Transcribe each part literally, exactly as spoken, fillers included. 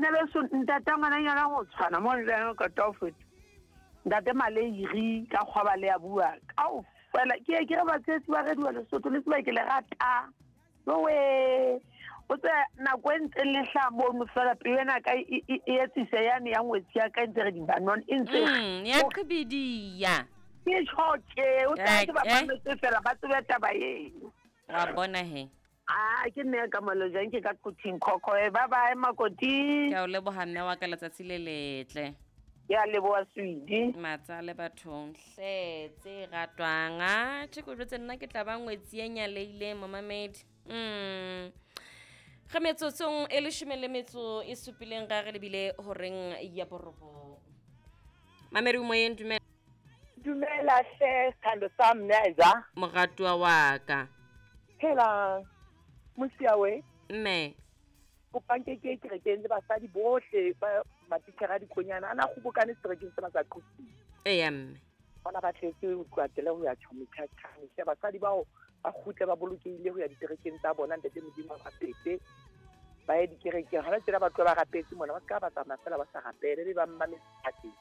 Bana beso, ntata ngwananyana go tshwana mo le ka tofet. Ntate Maleiri ka kgwaba le a bua. Kaofela ke ye ke re batshehetsi ba Radio Lesotho le tseba ke le rata. Jowe, o tse nako e ntseng le hlaha mono fela pelo ena ka e e e etsise yane ya ngwetsi ya ka e ntse re di banon e ntse Mm, ya qhibidiya. Ke tjho tje, o tla ke ba Eh, eh. mametse fela ba tsebe taba eno. Wa bona he. Ah, ke nne ka Malojang ke ka Quthing Khokho. Bye bye Makoti. Ke a o leboha mme wa ka, letsatsi le letle. Ke a leboha Swidi. Matsale bathong hle tse ratwang. Ah, tjhe ke o jwetse nna ke tla ba ngwetsi e nyaleileng momamedi. Mm. Re metsotsong e leshome le metso e supileng ra re lebile horeng ya borobong. Mamedi o moyeng, dumela. Dumela hle, sithando sa Mneza. Moratuwa wa ka. Phela Mosiawe. Mme. Kopang ke ke kerekeng le basadi bohle ba matitjhere a dikonyana a na kgobokane seterekeng sena sa Quthing. Eya mme. Bona ba tletse ho tloha tele ho ya tjhometjhatjhane. Hle basadi bao ba kgutle ba bolokehile ho ya diterekeng tsa bona, ntate Modimo a ba fepe. Ba ye dikerekeng. Hona tjena ba tloha ba rapetse mona, ba ska ba tsamaya fela ba sa rapele, be ba mmametse.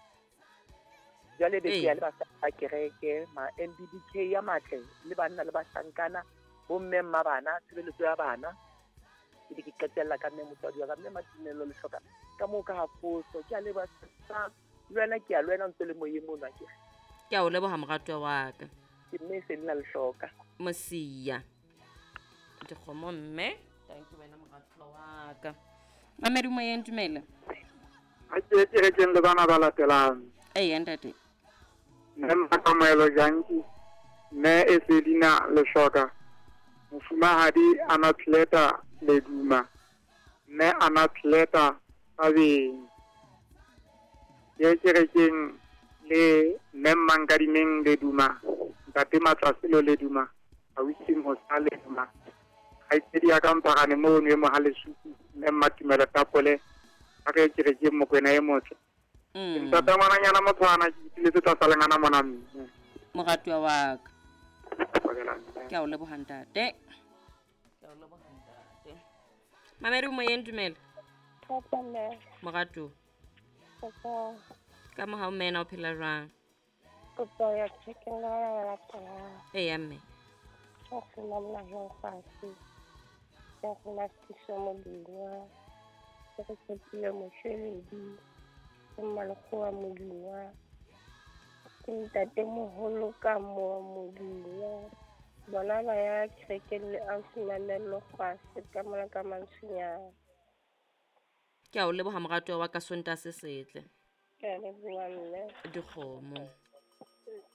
Jwale be ke ya le basadi ba kereke, ma M B B K ya matle, le banna le bahlankana, bomme mma bana, tshebeletso ya bana. Ke be ke qetella ka mme motswadi wa ka, mme Matumelo le hloka ka moo ka ha foso. Ke a leboha sa, le wena ke a le wena o ntse le moyeng mono akere. Ke a o leboha moratuwa wa ka. Ke mme e se le na le hloka. Mosia. Dikgomo mme. Thank you wena moratuwa wa ka. Mamedi moyeng, dumela. Ha ke kerekeng le bana ba latelang. Eya ntate. Mme Makamoelo Janki, mme Esedina Lehloka, mofumahadi Anathleta Leduma, mme Anathleta Thabeng. Ke kerekeng le mme Mmankadimeng Leduma, ntate Matlaselo Leduma, ausi Mosa Leduma, kgaitsedi ya ka Mphagane mono e Mohalesuku, mme Mmatumelo Tapole, a re kerekeng Mokwena e motle. Mm. Ntate ngwananyana motshwana ke itiletse tlasa lengana mona mme. Moratuwa wa ka. Pakela mme. Ke a o leboha ntate. Ke a o leboha ntate. Mamedi o moyeng, dumela. Papa mme. Moratuwa. Papa. Ka mohau mme ena o phela jwang? Kopo ya chicken la la la la. Eya mme. Ke go nna jang fatshe. Ke go nna Siso Modingwa. Ke go tshepile Moshweledi. Ke Mmalekgowa Modingwa. Ke ntatemoholo ka mo Modingwa. Bona ba ya kerekeng le ausi Mamello Kgwase ka mona ka Mantsonyana. Ke a o leboha moratuwa wa ka, Sontaha se setle. Ke a leboha mme. Dikgomo.